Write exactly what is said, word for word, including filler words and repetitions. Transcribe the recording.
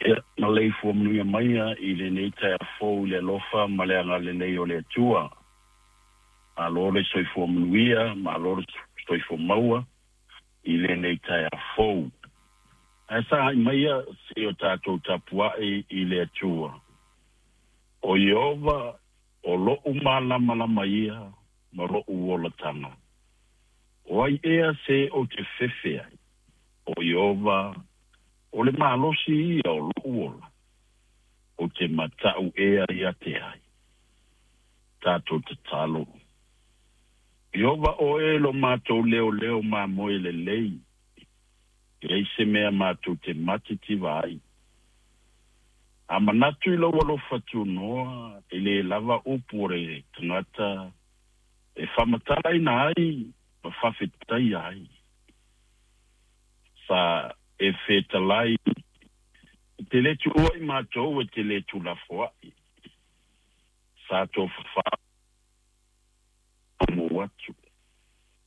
Ia, maleifua manuia maia i lenei taeao fou i le alofa ma le agalelei o le Atua. Malo le soifua manuia, malo le soifua maua i lenei taeao fou. Ae sagai maia se i o tatou tapuai i le Atua. O Ieova o lou malamalama ia ma lou olataga. O ai ea se ou te fefe ai? O Ieova o le malosi ia o lou ola. Ou te matau ea ia te ai. Tatou tatalo. Ieova oe lo matou leoleo mamoe lelei. E leai se mea matou te matitiva ai. A manatu i lou alofa tunoa, e le lava upu o le tagata e faamatalaina ai ma faafetaia ai. Sa e fetalai e te le tuua i matou e te le tuulafoai. Sa tofafau atu.